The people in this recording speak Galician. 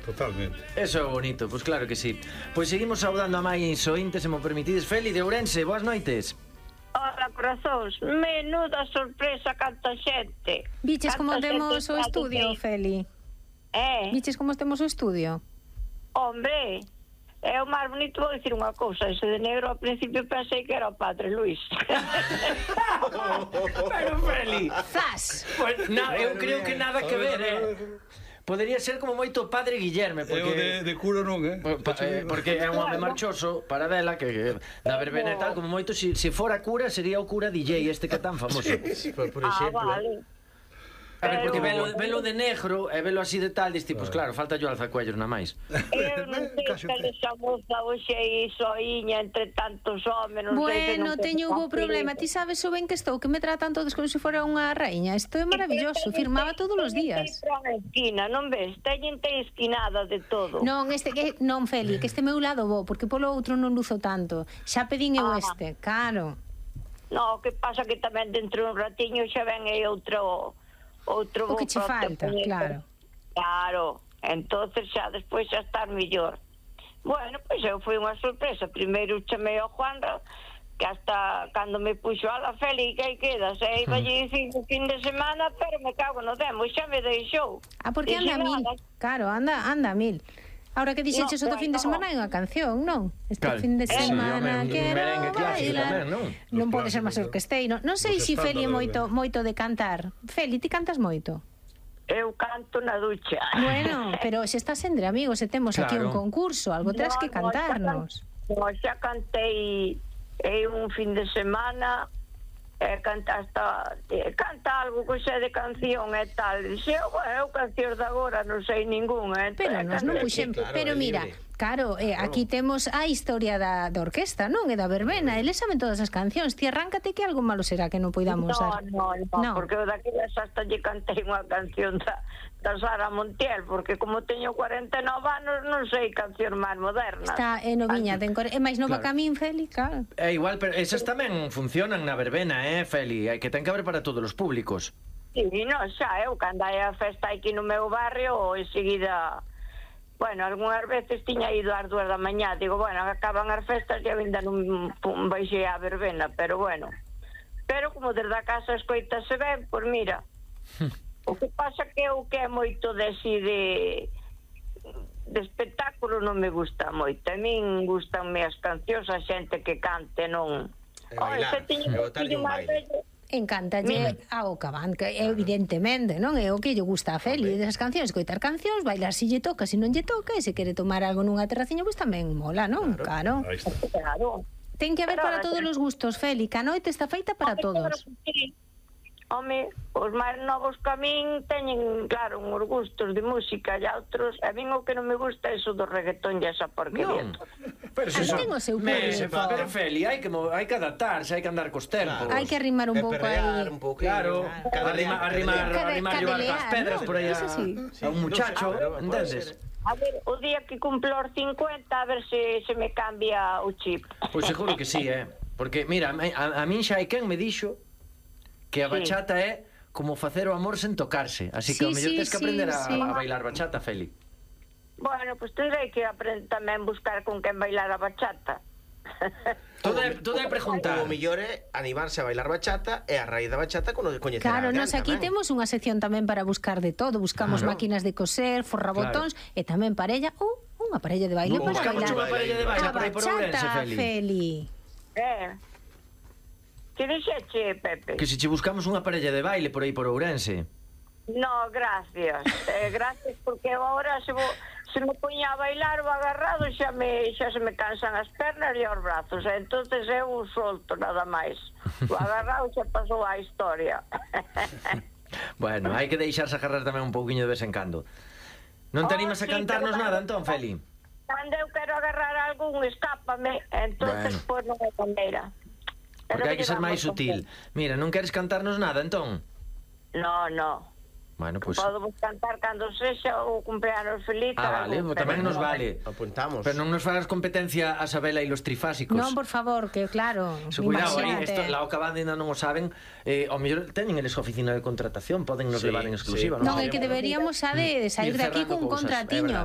Totalmente. Eso é bonito, pois claro que sí. Pois seguimos saudando a máis ointes, se mo permitides. Feli de Ourense, boas noites. Hola, corazóns, menuda sorpresa canta xente. Viches como Canta temos xente o está estudio, aquí. Feli? Viches como temos o estudio? Hombre, é o máis bonito. Vou dicir unha cousa, ese de negro ao principio pensei que era o Padre Luis. Pero Feli, Zas! pues, eu creo que nada que ver, Podería ser como moito o Padre Guillerme, Eu porque de curo non, porque é un home marchoso para dela que da verbena e tal, como moito se fora cura sería o cura DJ este que é tan famoso. Por exemplo. Vale. A ver, porque Pero- velo de negro e velo así de tal, diste, pues claro, falta yo alzacuellos na máis. Eu non sei que esa moza hoxe aí soiña entre tantos homes, non sei que Bueno, non teño hubo problema. Ti sabes o ben que estou, que me tratan todos como se fora unha raíña. Isto é maravilloso, firmaba todos os días. Esquina, non ves? Teñen esquinada de todo. Non, non, Feli, que este meu lado bo, porque polo outro non luzo tanto. Xa pedín eu este, claro. No, que pasa que tamén dentro de un ratiño xa ven aí outro O que che falta, claro. Claro, entonces xa despois xa estar mellor. Bueno, pois eu foi unha sorpresa. Primeiro chamei ao Juanra, que hasta cando me puxo a la Feli, que aí quedas, e iba lle dicir o fin de semana, pero me cago no demo, xa me deixou. Porque anda a mil. Claro, anda a mil. Ahora que dixeches o do fin de semana hai unha canción, non? Este fin de semana quero bailar. Non pode ser máis orquesteiro. Non sei se Feli é moito de cantar. Feli, ti cantas moito? Eu canto na ducha. Bueno, pero se estás entre amigos e temos aquí un concurso, algo terás que cantarnos. Xa cantei un fin de semana, canta algo que xa de canción e tal. Eu cancións de agora non sei ninguna. Pero nos non puxemos. Pero mira, claro, aquí temos a historia da orquesta, non? E da verbena, eles saben todas as cancións. Ti arráncate que algo malo será que non poidamos dar. No, porque daquelas hasta lle cantei unha canción da Sara Montiel, porque como teño 49 anos non sei canción máis moderna. Está noviña, é máis nova que a min, Feli, claro. É igual, pero esas tamén funcionan na verbena, Feli? Que ten que haber para todos os públicos. Sí, non, xa, eu cando hai a festa aquí no meu barrio, enseguida... Bueno, algunhas veces tiña ido ás 2 da mañá. Digo, bueno, acaban as festas e ainda non baixei a verbena, pero bueno. Pero como desde a casa escoitase ben, pois mira... O que pasa que eu que é moito de espectáculo non me gusta moito. A min gustanme as cancións, a xente que cante, non... Bailar, botarlle un baile. Encántalle ao cabán, que evidentemente, non? É o que lle gusta a Feli desas cancións, escoitar cancións, bailar se lle toca, se non lle toca, e se quere tomar algo nunha terraciña, pois tamén mola, non? Claro. Ten que haber para todos os gustos, Feli, que a noite está feita para todos. Home, os máis novos que a min teñen, claro, uns gustos de música e outros. A min o que non me gusta é iso do reggaetón e esa porquería. Pero se ten o seu público. Pero Feli, hai que adaptarse, hai que andar cos tempos. Hai que arrimar un pouco aí. Claro, arrimar as pedras por aí a un muchacho, entendes? A ver, o día que cumplo os 50, a ver se me cambia o chip. Pois seguro que sí, porque, mira, a min xa hai quen me dixo que a bachata é como facer o amor sen tocarse. Así que ao mellor tens que aprender a bailar bachata, Feli. Bueno, pois tendrei que tamén buscar con quen bailar a bachata. Todo é preguntar. O mellor é animarse a bailar bachata e a raíz da bachata coñecer a Claro, alguén nos aquí tamén. temos unha sección tamén para buscar de todo. Buscamos máquinas de coser, forrabotóns e tamén parella ou unha parella de baile para Buscamos bailar. unha parella de baile A por aí por Ourense, bachata, Feli. Que dixeche, Pepe? Que se che buscamos unha parella de baile por aí por Ourense. No, gracias. Gracias, porque agora se me poña a bailar o agarrado xa se me cansan as pernas e os brazos, entonces eu solto nada máis. O agarrado xa pasou a historia. Bueno, hai que deixarse agarrar tamén un pouquiño de vez en cando. Non te animas a cantarnos nada, entón, Feli? Cando eu quero agarrar algún, escápame, entonces pois non é maneira. Porque hai que ser máis sutil. Mira, non queres cantarnos nada, entón? No. Bueno, pois... Podemos cantar cando sexa o cumpleanos feliz. Vale, tamén nos vale. Apuntamos. Pero non nos fagas competencia a Sabela e los trifásicos. Non, por favor, que claro. Cuidado, la Ocabanda ainda non o saben. Ao mellor teñen eles oficina de contratación, poden nos levar en exclusiva. Non, é que deberíamos de sair de aquí cun contratiño.